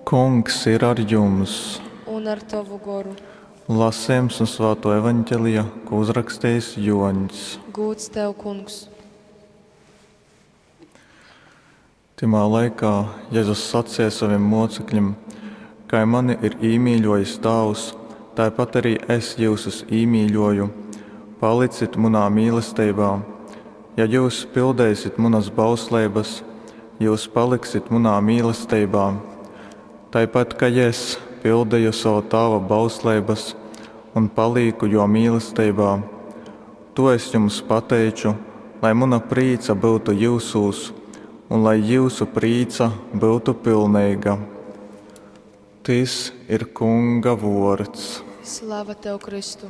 Kungs ir ar jums! Un ar tovu goru. Lasījums no Svāto evaņģelija, ko uzrakstījis Joņs. Gūds tev, kungs! Tymā laikā Jezus sacīja saviem mocekļiem, kai mani ir īmīļojis Tāvs, tāpat arī es jūsus īmīļoju. Palicit munā mīlestībā. Ja jūs pildēsit munas bausleibas, jūs paliksit munā mīlestībā. Tāpat kā es pildīju savu tāva bausleibas un palīku jo mīlestībā, to es jums pateiču, lai muna prīca būtu jūsūs un lai jūsu prīca būtu pilnīga. Tis ir Kunga vords. Slava tev, Kristu!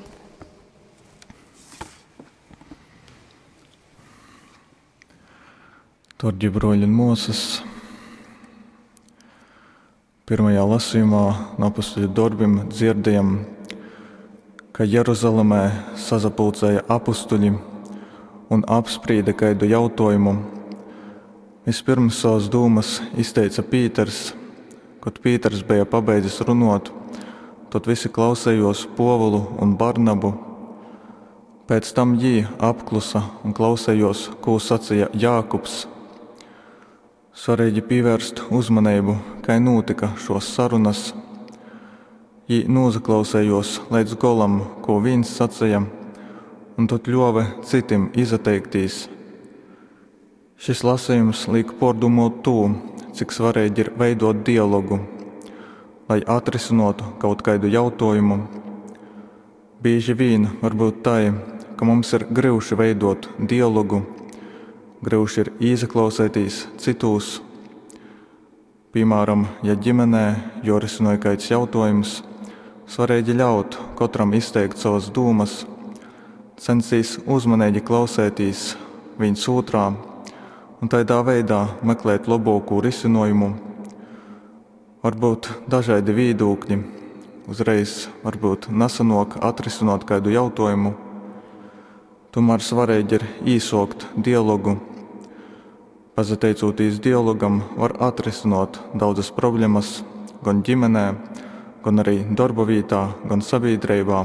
Darbie broļi un māsas, pirmajā lasījumā no apustuļu darbiem dzirdējam, ka Jeruzalemē sazapulcēja apustuļi un apsprieda kaidu jautājumu. Vispirms savas dūmas izteica Pīters. Kad Pīters bija pabeidzis runot, tad visi klausējos Povulu un Barnabu. Pēc tam jī apklusa un klausējos, ko sacīja Jākubs. Svarīgi pievērst uzmanību, kai notika šos sarunas. Jī nozaklausējos līdz golam, ko viens sacīja, un tad ļāva citim izteiktīs. Šis lasījums liek pārdomot to, cik svarīgi ir veidot dialogu, lai atrisinātu kaut kādu jautājumu. Bieži vien var būt tā, ka mums ir grūti veidot dialogu, grūti ir ieklausīties citos. Piemēram, ja ģimenē jorisinoja kāds jautājums, svarīgi ļaut katram izteikt savas dūmas, censties uzmanīgi klausēties viens otrā un tādā veidā meklēt labāko risinājumu. Varbūt dažādi viedokļi, uzreiz varbūt nesanāk atrisināt kādu jautājumu. Tomēr svarīgi ir īsokt dialogu. Pasateicoties dialogam, var atrisināt daudzas problēmas gan ģimenē, gan arī darba vietā, gan sabiedrībā.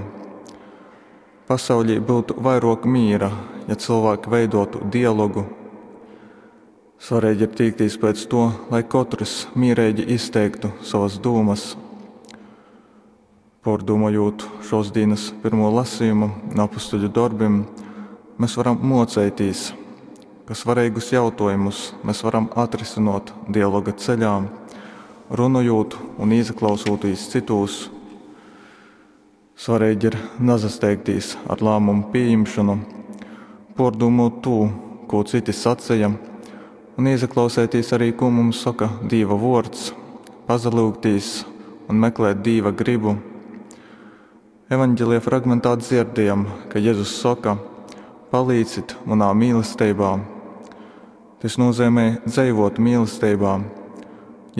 Pasaulī būtu vairāk mīra, ja cilvēki veidotu dialogu. Svarīgi ir tīkties pēc to, lai katrs mierīgi izteiktu savas domas. Pārdomājot šos dienas pirmo lasījumu no apustuļu darbiem, mēs varam mocēties, ka svarīgus jautājumus mēs varam atrisināt dialoga ceļā, runājot un ieklausūties citos. Svarīgi ir nezasteigties ar lēmumu pieņemšanu, pārdomot to, ko citi sacīja, un ieklausēties arī, ko mums saka Dieva vārds, pazalūgtīs un meklēt Dieva gribu. Evanģelija fragmentā dzirdējam, ka Jēzus saka: Palīdzit manā mīlestībā. Tas nozīmē dzīvot mīlestībā.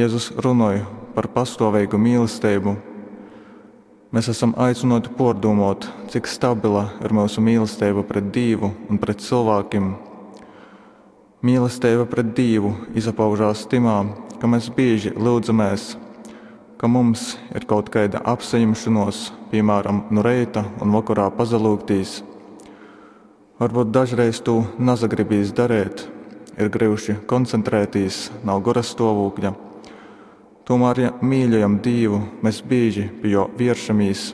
Jēzus runāja par pastāvīgu mīlestību. Mēs esam aicināti pārdomāt, cik stabila ir mūsu mīlestība pret Dievu un pret cilvēkiem. Mīlestība pret Dievu izpaužās timā, ka mēs bieži lūdzamies, ka mums ir kaut kāda apsaņemšanos, piemēram, no reita un vakarā pazalūgtīs. Varbūt dažreiz to nezagribīs darīt, ir grūti koncentrēties, nav gora stāvokļa. Tomēr, ja mīļojam Dievu, mēs bieži pie jo vēršamies.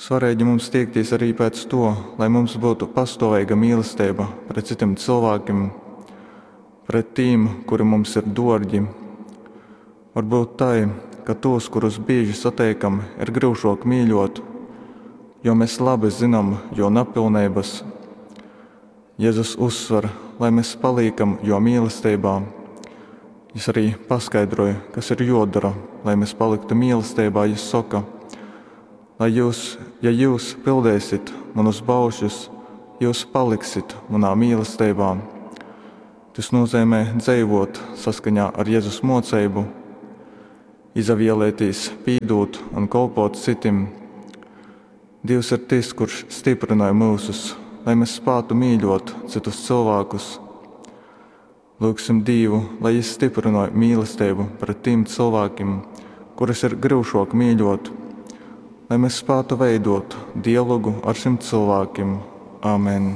Svarīgi mums tiekties arī pēc to, lai mums būtu pastāvīga mīlestība pret citiem cilvēkiem, pret tiem, kuri mums ir dārgi. Varbūt tā, ka tos, kurus bieži satiekam, ir grūšāk mīļot, jo mēs labi zinām jo nepilnības. Jēzus uzsver, lai mēs paliekam jo mīlestībā. Jis arī paskaidroja, kas ir jodara, lai mēs paliktu mīlestībā. Jis saka, lai jūs, ja jūs pildēsit manus baušļus, jūs paliksit manā mīlestībā. Tas nozīmē dzīvot saskaņā ar Jēzus mocību, izavielēties, pīdūt un kalpot citim. Dievs ir tas, kurš stiprināja mūsus, lai mēs spētu mīļot citus cilvēkus. Lyugsim Dīvu, lai Jys styprynoj mīlesteibu pret tīm cylvākim, kurus ir gryušuok mīļuot. Lai mes spātu veiduot dialogu ar šim cylvākim. Amen.